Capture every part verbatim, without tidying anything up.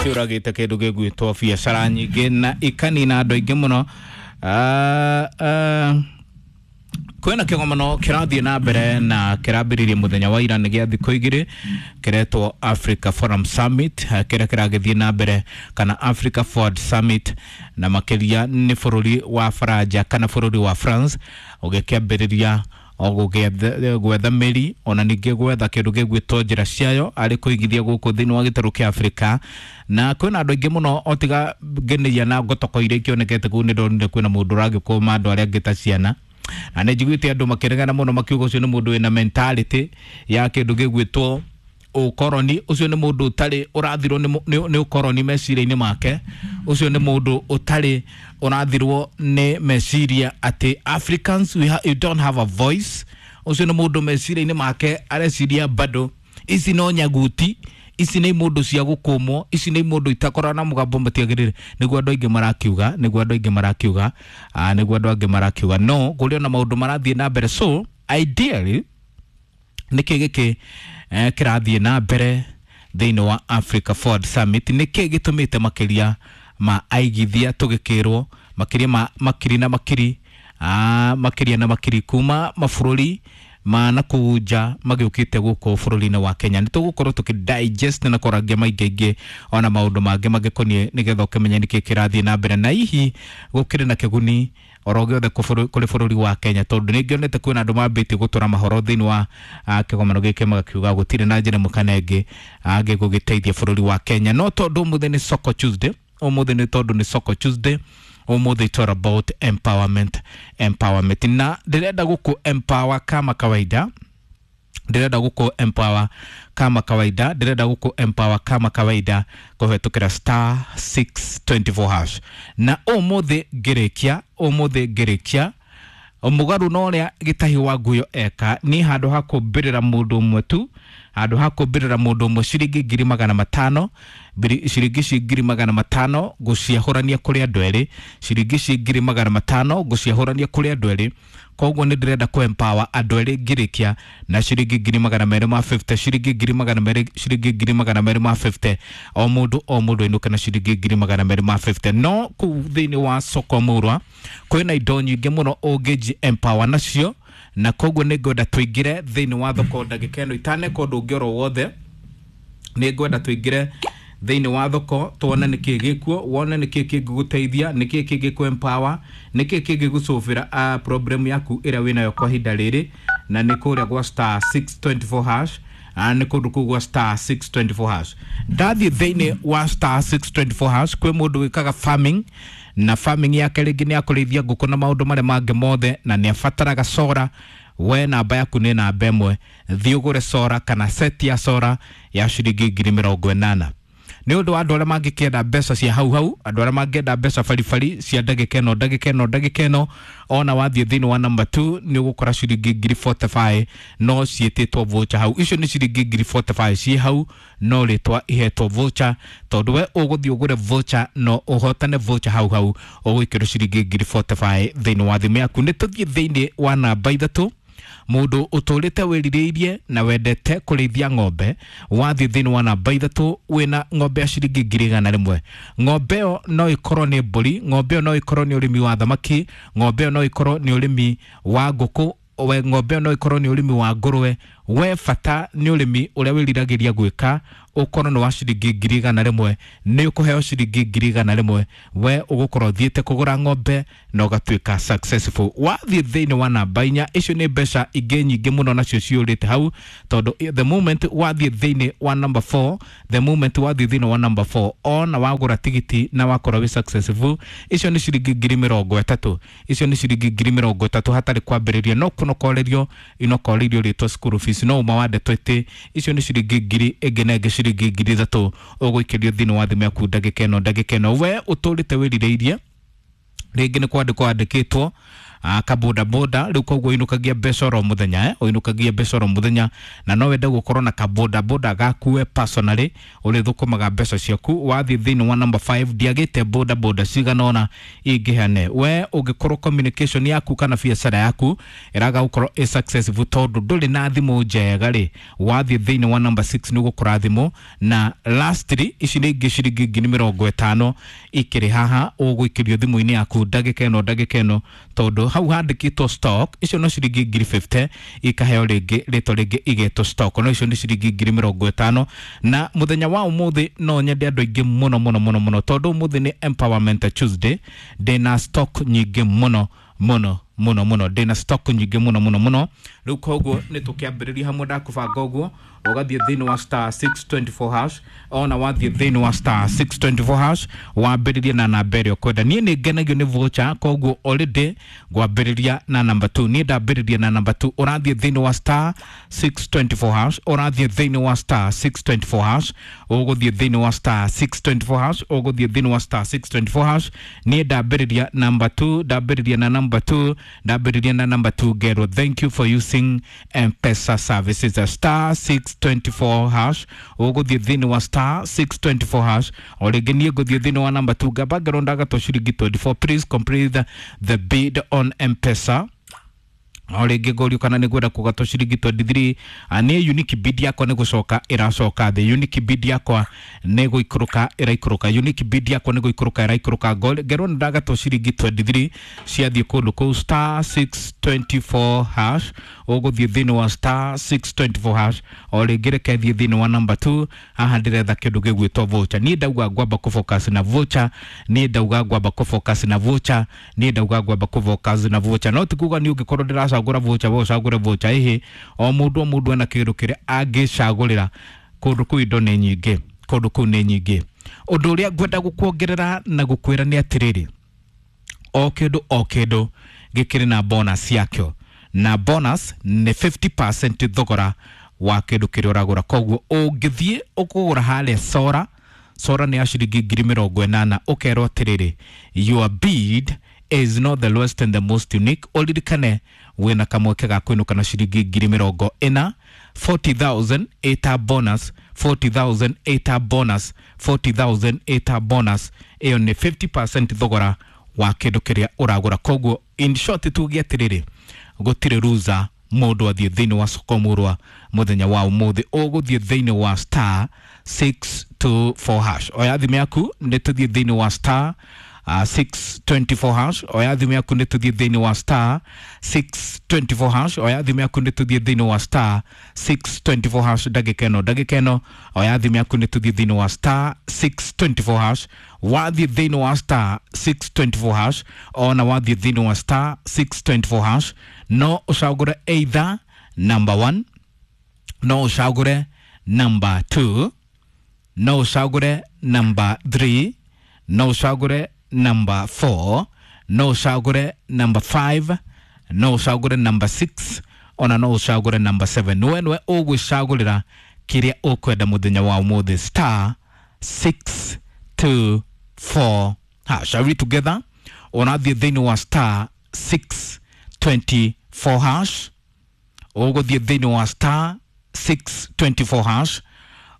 Ciũragĩte kĩndũ gĩgwĩtwo biacara nyingĩ na ikanina andũ aingĩ mũno. Ah, ah, kwĩna kĩgomano kĩrathiĩ na mbere na kĩrambĩrĩirie mũthenya wa ira, nĩ gĩa thikũ igĩrĩ, kĩretwo Africa Forum Summit, eh, kĩrĩa kĩragĩthiĩ na mbere kana Africa Forward Summit, na makĩria nĩ bũrũri wa Faranja kana bũrũri wa France ũgĩkĩambĩrĩria o gũgĩetha- gwetha mĩri ona ningĩ gwetha kĩndũ gĩgwĩtwo njĩra ciayo arĩ kũigithia gũkũ thĩinĩ wa gĩtarũ kĩa Afrika. Na kwĩna andũ aingĩ mũno otiga ngeneia na ngotoko iria ikĩonekete kũu, nĩ ndonire kwĩna mũndũ ũragĩkũma andũ arĩa angĩ ta ciana, na nĩ njiguĩte andũ makĩregana mũno makiuga ũcio nĩ mũndũ wĩna mentality ya kĩndũ gĩgwĩtwo ũkoroni. Ũcio nĩ mũndũ ũtarĩ ũrathirwo nĩ mũ- nĩ nĩ ũkoroni meciria-inĩ make. Ũcio nĩ mũndũ ũtarĩ ũrathirwo nĩ meciria atĩ Africans, we ha, you don't have a voice. Ũcio nĩ mũndũ meciria-inĩ make areciria bado ici no nyaguti, ici nĩ mũndũ cia gũkũmwo, ici nĩ mũndũ itakoragwo na mũgambo, matiagĩrĩire. Nĩguo andũ aingĩ marakiuga, nĩguo andũ aingĩ marakiuga, ah, nĩguo andũ angĩ marakiuga no kũrĩ ona maũndũ marathiĩ na mbere. So ideally, nĩkĩ gĩkĩ eh, kĩrathiĩ na mbere thĩinĩ wa Africa Forward Summit? Nĩkĩ gĩtũmĩte makĩria ma aigithia tũgĩkĩrwo makĩria ma makiri na makiri, ah, makĩria na makiri kuma mabũrũri ma na kũu nja magĩũkĩte gũkũ bũrũri-inĩ wa Kenya? Nĩ tũgũkorwo tũkĩ digest na kũrangia maingĩ aingĩ ona maũndũ mangĩ mangĩkoniĩ, nĩgetha ũkĩmenye nĩkĩ kĩrathiĩ na mbere na hihi gũkĩrĩ na kĩguni oro gĩothe kũ- kũrĩ bũrũri wa Kenya, tondũ nĩ ngĩonete kwĩna andũ mambĩtie gũtũra mahoro thĩinĩ wa ah, kĩgomano gĩkĩ, magakiuga gũtirĩ na njĩra ĩmwe kana ĩngĩ angĩgũgĩteithia bũrũri wa Kenya. No tondũ ũmũthĩ nĩ Soko Tuesday, ũmũthĩ nĩ tondũ nĩ Soko Tuesday, ũmũthĩ it's all about empowerment, empowerment, na ndĩrenda gũkũ empower kama kawaida, ndĩrenda gũkũ empower kama kawaida, ndĩrenda gũkũ empower kama kawaida kũhetũkĩra star six two four hash. Na ũmũthĩ ngĩrĩkia, ũmũthĩ ngĩrĩkia mũgarũ na ũrĩa gĩtahi wa nguyo eka ni handũ ha kũmbĩrĩra mũndũ ũmwe tu, handũ ha kũmbĩrĩra mũndũ ũmwe ciringi ngiri magana matano, biri- ciringi ici ngiri magana matano ngũciahũrania kũrĩ andũ erĩ, ciringi ici ngiri magana matano ngũciahũrania kũrĩ andũ erĩ. Koguo nĩ ndĩrenda kũ empower andũ erĩ ngĩrĩkia na ciringi ngiri magana merĩ ma mĩrongo ĩtano, ciringi ngiri magana merĩ, ciringi ngiri magana merĩ ma mĩrongo ĩtano, o mũndũ o mũndũ ainũke na ciringi ngiri magana merĩ ma mĩrongo ĩtano. No kũu thĩinĩ wa soko mũrwa kwĩna indo nyingĩ mũno ũngĩnji empower nacio, na koguo nĩ ngwenda tũingĩre thĩinĩ wa thoko ndagĩka ĩno itaneka ũndũ ũngĩ oro wothe. Nĩ ngwenda tũingĩre thĩinĩ wa thoko tuone nĩkĩ gĩkuo, wone nĩkĩ kĩngĩgũteithia, nĩkĩ kĩngĩkũ empower, nĩkĩ kĩngĩgũcũbĩra uh, problem yaku ĩrĩa wĩnayo kwa ihinda rĩrĩ. Na nĩ kũrĩa gwa star six two four hash, ah, nĩ kũndũ kũu gwa star six two four hash. Ndathiĩ thĩinĩ wa star six two four hash, kwĩ mũndũ wĩkaga farming, na farming yake rĩngĩ nĩ akũrĩithia ngũkũ na maũndũ marĩa mangĩ mothe, na nĩ abataraga solar. We namba yaku nĩ namba ĩmwe, thiĩ ũgũre solar kana set ya solar ya ciringi ngiri mĩrongo ĩnana. Nĩ ũndũ wa andũ arĩa mangĩkĩenda mbeca cia hau hau, andũ arĩa mangĩenda mbeca baribari cia ndagĩka ĩno, ndagĩka ĩno, ndagĩka ĩno, ona wathiĩ thĩinĩ wa number two nĩ ũgũkora ciringi ngiri mĩrongo ĩna na ithano no ciĩtĩtwo voucher hau. Icio nĩ ciringi ngiri mĩrongo ĩna na ithano ciĩ hau, no rĩtwa ihetwo voucher, tondũ we ũgũthiĩ ũgũre voucher no ũhotane voucher hau hau, ũgwĩkĩrwo ciringi ngiri mĩrongo ĩna na ithano thĩinĩ wa thimũ yaku. Nĩ tũthiĩ thĩinĩ wa namba ithatũ, mũndũ ũtũrĩte wĩrirĩirie na wendete kũrĩithia ng'ombe. Wathiĩ thĩinĩ wa namba ithatũ, wĩna ng'ombe ya ciringi ngiri igana rĩmwe. Ng'ombe ĩyo no ĩkorwo nĩ mbũri, ng'ombe ĩyo no ĩkorwo nĩ ũrĩmi wa thamaki, ng'ombe ĩyo no ĩkorwo nĩ ũrĩmi wa ngũkũ, we ng'ombe ĩyo no ĩkorwo nĩ ũrĩmi wa ngũrwe. We bata nĩ ũrĩmi ũrĩa wĩriragĩria gwĩka ũkorwo nĩ wa ciringi ngiri igana rĩmwe, nĩ ũkũheo ciringi ngiri igana rĩmwe. We ũgũkorwo ũthiĩte kũgũra ng'ombe na ũgatuĩka successful. Wathiĩ thĩinĩ wa namba inya, icio nĩ mbeca ingĩ nyingĩ mũno nacio ciũrĩte hau, tondũ the moment wathiĩ thĩinĩ wa number four, the moment wathiĩ thĩinĩ wa number four, ona wagũra tigiti na wakorwo wĩ successful, icio nĩ ciringi ngiri mĩrongo ĩtatũ, icio nĩ ciringi ngiri mĩrongo ĩtatũ hatarĩ kwambĩrĩria, no kũnokorerio inokoreirio rĩtwa school fees, no uma wa ndeto ĩtĩ icio nĩ ciringi ngiri ĩngĩ na ĩngĩ ciringi ngiri ithatũ ũgũikĩrio thĩinĩ wa thimũ yaku ndagĩka ĩno, ndagĩka ĩno. We ũtũrĩte wĩrirĩirie, rĩngĩ nĩ kwandĩkwo wandĩkĩtwo, Kaboda boda rĩu koguo ũinũkagia mbeca oro mũthenya, eh ũinũkagia mbeca oro mũthenya, na no wende gũkorwo na kaboda boda gaku we personally ũrĩthũkũmaga mbeca ciaku. Wathiĩ thĩinĩ wa number five, ndiagĩte boda boda cigana ũna ingĩheane. We ũngĩkorwo communication yaku kana biacara yaku ĩraga gũkorwo ĩ successful tondũ ndũrĩ na thimũ njega rĩ, wathiĩ thĩinĩ wa number six nĩ ũgũkora thimũ. Na lastly, ici nĩ ingĩ ciringi ngiri mĩrongo ĩtano ikĩrĩ haha ũgũikĩrio thimũ-inĩ yaku ndagĩka ĩno ndagĩka ĩno, tondũ hau handĩkĩtwo stock, icio no ciringi ngiri mĩrongo ĩtano ikaheo rĩngĩ rĩtwa rĩngĩ igetwo stock, no icio nĩ ciringi ngiri mĩrongo ĩtano. Na mũthenya wa ũmũthĩ no nyende andũ aingĩ mũno mũno mũno mũno, tondũ ũmũthĩ nĩ Empowerment Tuesday. Ndĩna stock nyingĩ mũno mũno mũno mũno, ndĩna stock nyingĩ mũno mũno mũno. Rĩu koguo nĩ tũkĩambĩrĩria hamwe, ndakũbanga ũguo ũgathiĩ thĩinĩ wa star six twenty-four hash. Ona wathiĩ thĩinĩ wa star six twenty-four hash, wambĩrĩrie na namba ĩrĩa ũkwenda. Niĩ nĩ ngenagio nĩ voucher, koguo already ngwambĩrĩria na number two. Niĩ ndambĩrĩria na number two. Ũrathiĩ thĩinĩ wa star six twenty-four hash, ũrathiĩ thĩinĩ wa star six twenty-four hash, ũgũthiĩ thĩinĩ wa star six twenty-four hash, ũgũthiĩ thĩinĩ wa star six twenty-four hash. Niĩ ndambĩrĩria number two, ndambĩrĩria na number two, ndambĩrĩria na number two. Ngerwo thank you for using M-Pesa services. Star six twenty-four hash, ũgũthiĩ thĩinĩ wa star six twenty-four hash. O rĩngĩ niĩ ngũthiĩ thĩinĩ wa number two, ngamba ngerwo ndagatwo ciringi twenty-four, please complete the bid on M-Pesa. O rĩngĩ ngũrio kana nĩ ngwenda kũgatwo ciringi twenty-three. Niĩ unique bid yakwa nĩ gũcoka ĩracoka thĩ, unique bid yakwa nĩ gũikũrũka ĩraikũrũka, unique bid yakwa nĩ gũikũrũka ĩraikũrũka. Ngerwo nĩ ndagatwo ciringi twenty-three ciathiĩ kũndũ kũu star six twenty-four hash. Ũgũthiĩ thĩinĩ wa star six twenty-four hash. O rĩngĩ reke thiĩ thĩinĩ wa number two. Haha ndĩretha kĩndũ gĩgwĩtwo voucher. Niĩ ndauga ngwamba kũ focus na voucher, niĩ ndauga ngwamba kũ focus na voucher, niĩ ndauga ngwamba kũ focus na voucher. No ti kuga niĩ ũngĩkorwo ndĩracagũra voucher we ũcagũre voucher, ĩhĩ, o mũndũ o mũndũ ena kĩndũ kĩrĩa angĩcagũrĩra. Kũndũ kũu indo nĩ nyingĩ, kũndũ kũu nĩ nyingĩ. Ũndũ ũrĩa ngwenda gũkuongerera na gũkwĩra nĩ atĩrĩrĩ, o kĩndũ o kĩndũ gĩkĩrĩ na bonus yakĩo, na bonus nĩ fifty percent thogora wa kĩndũ kĩrĩa ũragũra. Koguo ũngĩthiĩ ũkũgũra harĩa sora, sora nĩ ya ciringi ngiri mĩrongo ĩnana, ũkerwo atĩrĩrĩ, your bid is not the lowest and the most unique. Ũririkane wĩna kamweke ga kũinũka na ciringi ngiri mĩrongo ĩna, forty thousand ĩta bonus, forty thousand ĩta bonus, forty thousand ĩta bonus. Ĩyo nĩ fifty percent thogora wa kĩndũ kĩrĩa ũragũra. Koguo in short tuge atĩrĩrĩ, gũtirĩ ruza mũndũ athiĩ thĩinĩ wa soko mũrwa mũthenya wa ũmũthĩ. Ũgũthiĩ thĩinĩ wa star six two four hash. Oya thimũ yaku nĩ tũthiĩ thĩinĩ wa star Uh, six twenty-four hash. Oya thimũ yaku nĩ tũthiĩ thĩinĩ wa star six twenty-four hash. Oya thimũ yaku nĩ tũthiĩ thĩinĩ wa star six twenty-four hash. Ndagĩka ĩno ndagĩka ĩno oya thimũ yaku nĩ tũthiĩ thĩinĩ wa star six twenty-four hash. Wathiĩ thĩinĩ wa star six twenty-four hash, ona wathiĩ thĩinĩ wa star six twenty-four hash, no ũcagũre either number one, no ũcagũre number two, no ũcagũre number three, no ũcagũre number four, no ũcagũre number five, no ũcagũre number six, ona no ũcagũre number seven. Nĩwe nĩwe ũgwĩcagũrĩra kĩrĩa ũkwenda mũthenya wa ũmũthĩ. Star six two four hash. Are we together? Ũrathiĩ thĩinĩ wa star six twenty-four hash, ũgũthiĩ thĩinĩ wa star six twenty-four hash,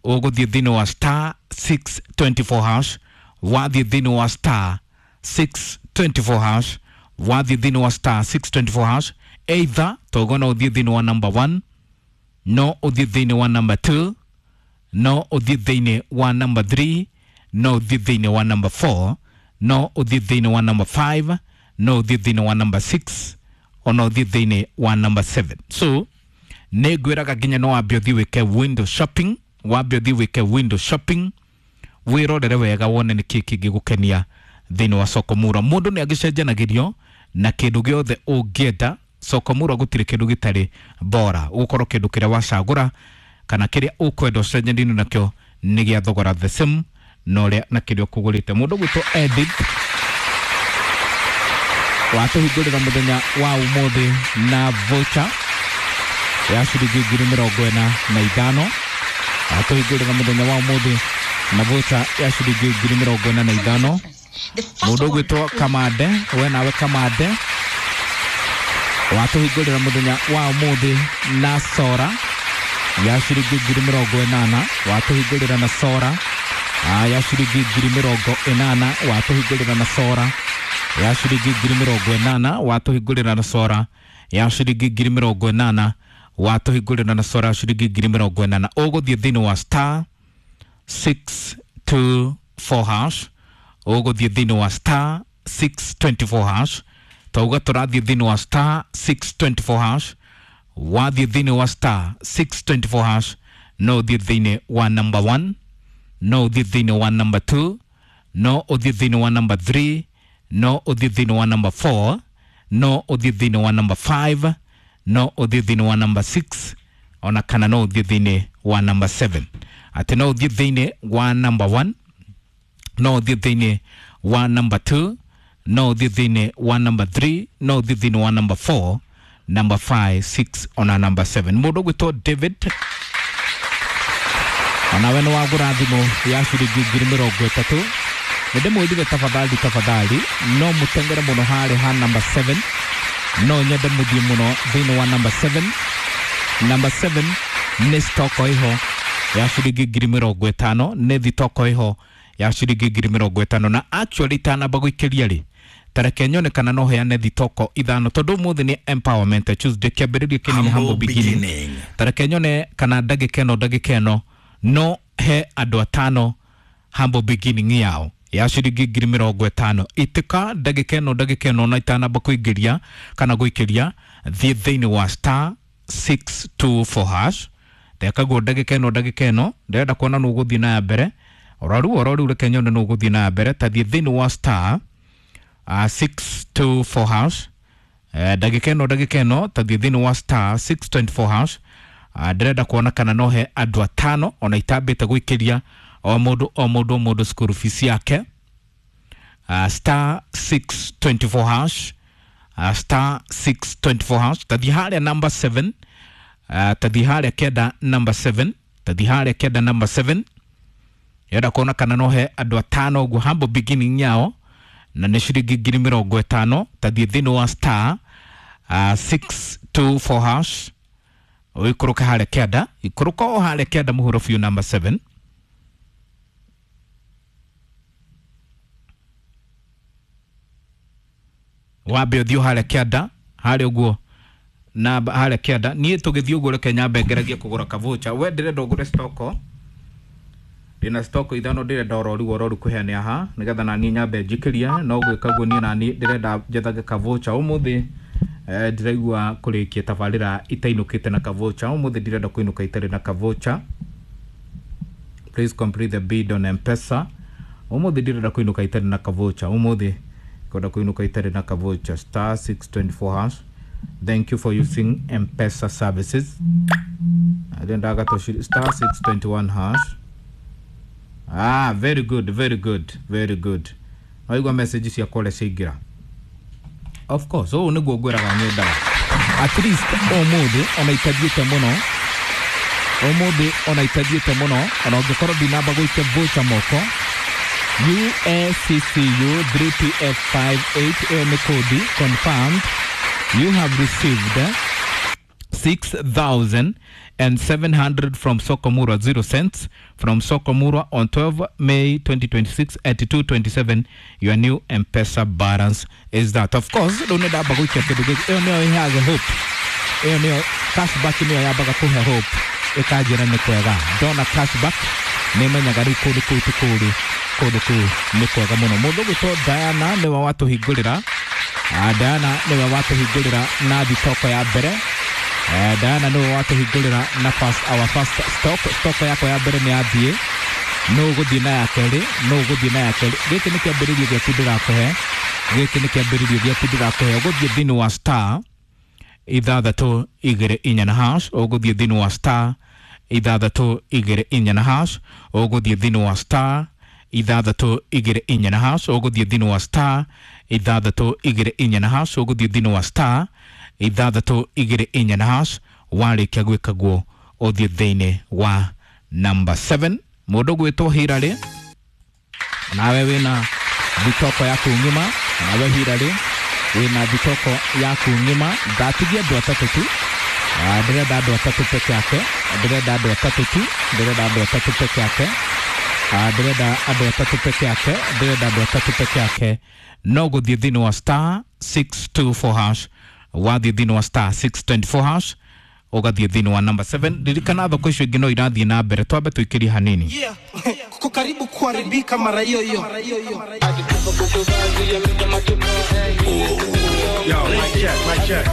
ũgũthiĩ thĩinĩ wa star six twenty-four hash. Wathiĩ thĩinĩ wa star six twenty-four hash, wathiĩ thĩinĩ wa star six twenty-four hash, either togo no ũthiĩ thĩinĩ wa number one, no ũthiĩ thĩinĩ wa number two, no ũthiĩ thĩinĩ wa number three, no ũthiĩ thĩinĩ wa number four, no ũthiĩ thĩinĩ wa number five, no ũthiĩ thĩinĩ wa number six, ona ũthiĩ thĩinĩ wa number seven. So nĩ ngwĩraga nginya no wambe ũthiĩ wĩke window shopping, wambe ũthiĩ wĩke window shopping, wĩrorere wega wone nĩ kĩĩ kĩngĩgũkenia thĩinĩ wa soko mura. Mũndũ nĩ agĩcenjanagĩrio na kĩndũ gĩothe ũngĩenda. Soko mura gũtirĩ kĩndũ gĩtarĩ bora, ũgũkorwo kĩndũ kĩrĩa wacagũra kana kĩrĩa ũkwenda ũcenjanĩrio nakĩo nĩ gĩa thogora the same na ũrĩa na kĩrĩa ũkũgũrĩte. Mũndũ ũgwĩtwo Edith watũhingũrĩra mũthenya wa ũmũthĩ na voucher ya ciringi ngiri mĩrongo ĩna na ithano. Watũhingũrĩra mũthenya wa ũmũthĩ na voucher ya ciringi ngiri mĩrongo ĩna na ithano. Mũndũ ũgwĩtwo Kamande, we nawe Kamande, Watũhingũrĩra mũthenya wa ũmũthĩ na sora ya ciringi ngiri mĩrongo ĩnana. Watũhingũrĩra na sora ya ciringi ngiri mĩrongo ĩnana. Watũhingũrĩra na sora ya ciringi ngiri mĩrongo ĩnana. Watũhingũrĩra na sora ya ciringi ngiri mĩrongo ĩnana. Watũhingũrĩra na sora ya ciringi ngiri mĩrongo ĩnana. Ũgũthiĩ thĩinĩ wa star six two four hash. Ũgũthiĩ thĩinĩ wa star six twenty four hash. Twauga tũrathiĩ thĩinĩ wa star six twenty four hash. Wathiĩ thĩinĩ wa star six twenty four hash no ũthiĩ thĩinĩ wa number one, no ũthiĩ thĩinĩ wa number two, no ũthiĩ thĩinĩ wa number three, no ũthiĩ thĩinĩ wa number four, no ũthiĩ thĩinĩ wa number five, no ũthiĩ thĩinĩ wa number six, ona kana no ũthiĩ thĩinĩ wa number seven. Atĩ no ũthiĩ thĩinĩ wa number one, no ũthiĩ thĩinĩ wa number two, no ũthiĩ thĩinĩ wa number three, no ũthiĩ thĩinĩ wa number four, number five, six ona number seven. Mũndũ ũgwĩtwo David, onawe nĩ wagũra thimũ ya ciringi ngiri mĩrongo ĩtatũ. Nĩ ndĩmwĩrire tafadhali tafadhali no mũtengere mũno harĩa ha number seven. No nyende mũthiĩ mũno thĩinĩ wa number seven. Number seven nĩ stoko ĩho ya ciringi ngiri mĩrongo ĩtano. Nĩ thitoko ĩho ya ciringi ngiri mĩrongo ĩtano. Na actually itanamba gũikĩria rĩ, tareke nyone kana no heane thitoko ithano tondũ ũmũthĩ nĩ empowerment Tuesday, kĩambĩrĩria kĩnini humble beginning. Tareke nyone kana ndagĩka ĩno ndagĩka ĩno no he andũ atano humble beginning yao ya ciringi ngiri mĩrongo ĩtano. Itĩka ndagĩka ĩno ndagĩka ĩno na itanamba kũingĩria kana gũikĩria, thiĩ thĩinĩ wa star six two four hash. Ndekaguo ndagĩka ĩno ndagĩka ĩno ndĩrenda kuona nũ ũgũthiĩ na ya mbere. Oro rĩu oro rĩu reke nyone nũ ũgũthiĩ na ya mbere. Ta thiĩ thĩinĩ wa star uh, six two four hash. Eh, ndagĩka ĩno ndagĩka ĩno ta thiĩ thĩinĩ wa star six twenty four hash. Uh, ndĩrenda kuona kana no he andũ atano ona itambĩte gũikĩria o mũndũ o mũndũ o mũndũ school fees yake. Uh, star six twenty four hash. Uh, star six twenty four hash. Tathiĩ harĩa number seven. Uh, tathiĩ harĩa kenda number seven. Tathiĩ harĩa kenda number seven. Ndĩrenda kuona kana no he andũ atano ũguo humble beginning yao na nĩ ciringi ngiri mĩrongo ĩtano. Tathiĩ thĩinĩ wa star uh, six two four hash. Ũikũrũke harĩa kenda, ikũrũka o harĩa kenda mũhuro biũ number seven. Wambe ũthiĩ harĩa kenda, harĩa ũguo namba harĩa kenda. Niĩ tũgĩthiĩ ũguo reke nyambe ngeragie kũgũra kavocha. We ndĩrenda ũgũre stoko, ndĩna stoko ithano ndĩrenda oro rĩu oro rĩu kũheana haha nĩgetha naniĩ nyambe njikĩrie. No gwĩka ũguo niĩ naniĩ ndĩrenda njethage kavocha ũmũthĩ. Eh, ndĩraigua kũrĩkia tabarĩra itainũkĩte na kavocha ũmũthĩ. Ndirenda kũinũka itarĩ na kavocha. Please complete the bid on M-Pesa. Ũmũthĩ ndirenda kũinũka itarĩ na kavocha. Ũmũthĩ kwenda kũinũka itarĩ na kavocha. Star six twenty four hash. Thank you for using M-Pesa services. Ndĩrendaga star six twenty one hash. Ah, very good, very good, very good. Waigua message ciakwa ũrĩa ciaingĩra. Of course, ũũ nĩguo ngwĩraga nyendaga. At least ũmũthĩ ona itathiĩte mũno, ũmũthĩ ona itathiĩte mũno, ona ũngĩkorwo ndinamba gũikia voucher moko. U A C C U three P F five eight ĩyo nĩ kodi confirmed. You have received six thousand seven hundred from Sokomura, zero cents from Sokomura on twelve May twenty twenty-six at two twenty-seven. Your new M-Pesa balance is that. Of course, don't need that gũikia kĩndũ gĩkĩ. Ĩyo nĩyo ĩheaga hope. Ĩyo nĩyo cashback, nĩyo yambaga kũhe hope ĩkanjĩra nĩ kwega. Ndona cashback nĩmenyaga rĩu kũndũ kũu ti kũũru, kũndũ kũu nĩ kwega mũno. Mũndũ ũgwĩtwo Diana nĩwe watũhingũrĩra. Ah, Diana nĩwe watũhingũrĩra na thitoko ya mbere. Eh, Diana nĩwe watũhingũrĩra na first, our first stock. Stock yakwa ya mbere nĩ yathiĩ, no ũgũthiĩ na ya kerĩ, no ũgũthiĩ na ya kerĩ. Gĩkĩ nĩ kĩambĩrĩrio gĩaku ndĩrakũhe, gĩkĩ nĩ kĩambĩrĩrio gĩaku ndĩrakũhe. Ũgũthiĩ thĩinĩ wa star ithathatũ igĩrĩ inya na hash. Ũgũthiĩ thĩinĩ wa star ithathatũ igĩrĩ inya na hash. Ũgũthiĩ thĩinĩ wa star ithathatũ igĩrĩ inya na hash. Ũgũthiĩ thĩinĩ wa star ithathatũ igĩrĩ inya na hash. Ũgũthiĩ thĩinĩ wa star ithathatũ igĩrĩ inya na hash. Warĩkia gwĩka guo ũthiĩ thĩinĩ wa number seven. Mũndũ ũgwĩtwo Hilary, nawe wĩna thitoko yaku ng'ima, nawe Hilary Wĩna thitoko yaku ng'ima. Ndatigia andũ atatũ tu. Ah, ndĩrenda andũ atatũ peke yake, ndĩrenda andũ atatũ tu, ndĩrenda andũ atatũ peke yake. Ah, ndĩrenda andũ atatũ peke yake, ndĩrenda andũ atatũ peke yake. No gũthiĩ thĩinĩ wa star six two four hash. Wathiĩ thĩinĩ wa star six two four hash, ũgathiĩ thĩinĩ wa number seven. Ririkana thoko icio ingĩ no irathiĩ na mbere, twambe tũikĩrie hanini. Yeah. Kuko karibu kuharibika mara hiyo hiyo. Yo, mic check, mic check.